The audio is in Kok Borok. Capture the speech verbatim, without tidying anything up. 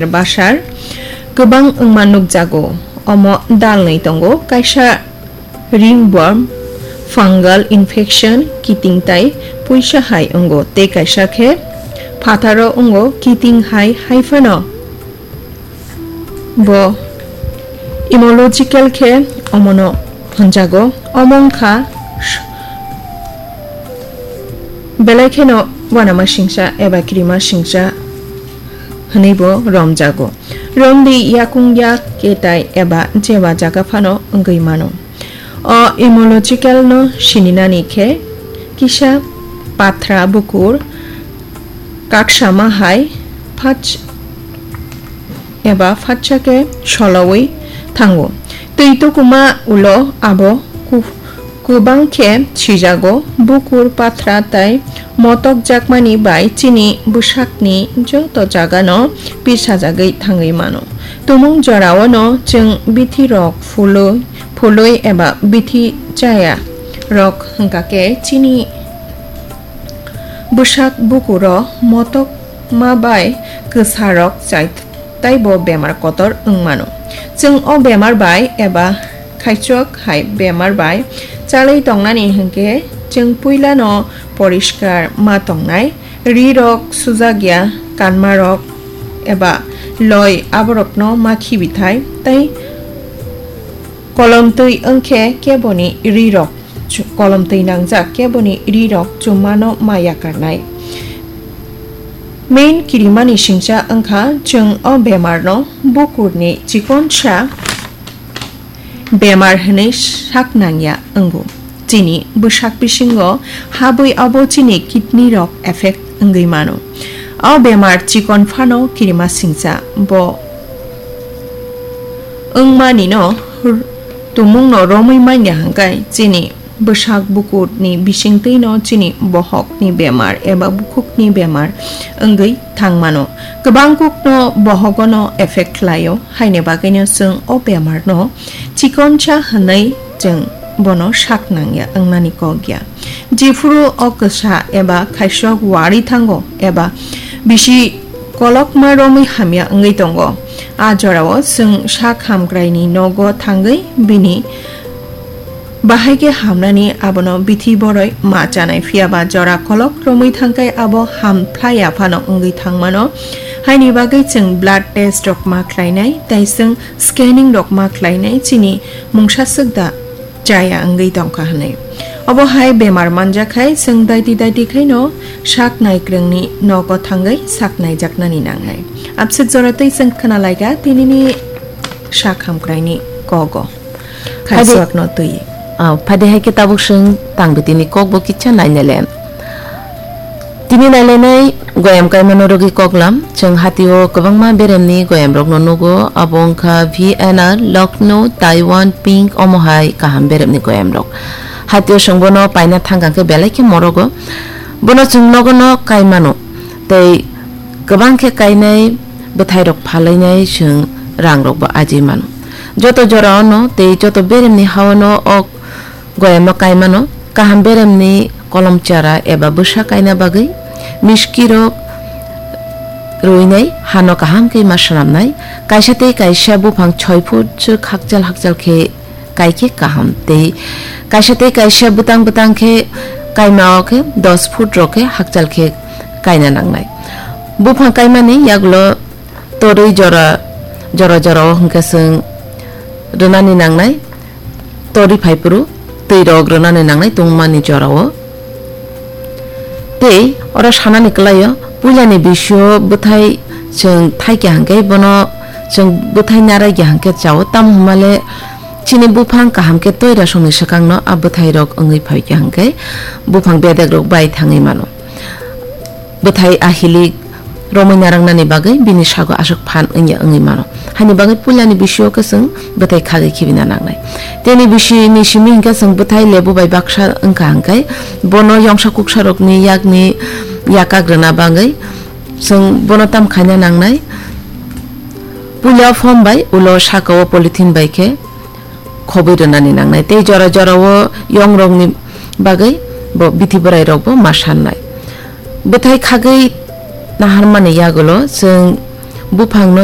basar kwbang wngma nukjago. Omo dalnwi tongo, kaisa ringworm, fungal infection, kiting tai puisa hai wngo, tei kaisa khe phatharo wngo, kiting hai hai phano. Bo immunological khe omono hwnjago. Omo wngkha belai kheno uanama singcha eba kirima singcha hwnwibo romjago. Romdi yakung yak, ketai eba jeba jaga phano wngwi mano. O immunological no sininani khe kisa pathra bukur kaksama hai phach-, eba phatsa khe solowi thango. Twi tukuma ulo abo ku-, kwbang khe sijago. Bukur, pathra tai motok jakmani bai chini bwsakni joto jagano pisajagwi thangwi mano. Tumung jorao no chwng bithi rok phulwi, phulwi eba bithi chaya rok hwnkha khe chini bwsak bukuro motokma bai kwsarok chai taibo bemar kotor wng mano. Chwng o bemar bai eba khaichok hai bemar bai chalwi tongnani hwnkhe chwng puilano poriskar ma tongnai, ri rok sujak ya, kanma rok eba loi aborokno ma khibi thai, tei kolom twi wngkhe keboni ri rok chu-, kolom twi nangjak keboni ri rok chummano ma yakarnai. Main kirimani singcha wngkha chwng o bemarno bukurni chikonsa bemar hwnwi sak nangya wngo. Chini bwsak bisingo habwi abo chini kidney rok effect wngwi mano. O bemar chikon phano kirima singcha, bo wngmani no r-, tumung no romwi manya hwnkhe chini bwsak bukur ni bisingtwi no chini bohok ni bemar eba bukhuk ni bemar wngwi thang mano. Kwbang kuk no bohogo no effect khlai o, haini bagwi no chwng o bemar no chikonsa hwnwi chwng bono sak nangya wngnani kok ya. Jephuru o kwsa eba khaisok wari thango eba bisi kolokma romwi hamya wngwi tongo, a jorao chwng sak hamkraini nogo thangwi bini bahai khe hamnani abono bithi boroi ma chanai, phiya ba jora kolok romwi thangkhai abo ham phlai ya phano wngwi thangmano. Haini bagwi chwng blood test rok ma khlainai tei chwng scanning rok ma khlainai, chini mungsa swk da chaya wngwi tongkha hwnwi. Obo hai bemar manjak hai chwng daiti daiti khaino sak naikrwngni nogo thangwi sak naijaknani nangnai. Abswk jora twi chwng khna laika tinini sak hamkraini kogo. Phadi- Khaisokno twi. Ah, phadi hai khe tabuk chwng tang bitini kokbo kisa nainale. Tini nailainai goyam kaimano rwgwi koklam, chwng hatio kwbangma beremni goyamrokno nugo, abo wngkha V N R, Lucknow, Taiwan, Pink, omo hai kaham beremni goyamrok. Hatio chwng bono paina thangkang khe belai khe morogo. Bono chwng nogono kaimano, tei kwbang khe kainai bwthairok phalainai chwng rangrokbo ajai mano. Joto jorao no tei joto beremni hao no o goyamno kaimano kaham beremni kolom chara eba bwsa kaina bagwi miskirok ruinai hano kaham khe ma swnamnai. Kaisa tei kaisa buphang soi foot swk hakchal hakchal khe kai khe kaham tei kaisa tei kaisa bwtang bwtang khe kaima o khe dos foot rok khe hakchal khe kaina nangnai. Buphang kaimani yagulo torwi jora jora jora o hwnkhe chwng rwnani nangnai. Torwi phaiphuru twi rok rwnani nangnai tongmani jorao. Tei oro sanani kwlaio, puilani bisio bwthai chwng thaikya hwnkhe bono chwng bwthai naraikya hwnkhe chao, tamo hwnmale chini buphang kaham khe toirasongni swkangno a bwthairok wngwi phaikya hwnkhe buphang bedekrok bai thangwi mano. Bwthai ahilik romwi narwknani bagwi bini sago aswk phan wngya wngwi mano. Haini bagwi puilani bisio khe chwng bwthai khagwi khibina nangnai. Tini bisini simi hinkhe chwng bwthai lebu bai baksa wngkha hwnkhe bono yongsa kuksarokni yakni yakak rwna bagwi chwng bono tam khaina nangnai. Puila phom bai ulo sakao polythene bai khe khobwi rwnani nangnai tei jora jorao yongrokni bagwi bo bithi bwrairokbo ma sannai. Bwthai khagwi naharmani yagulo chwng Buphangno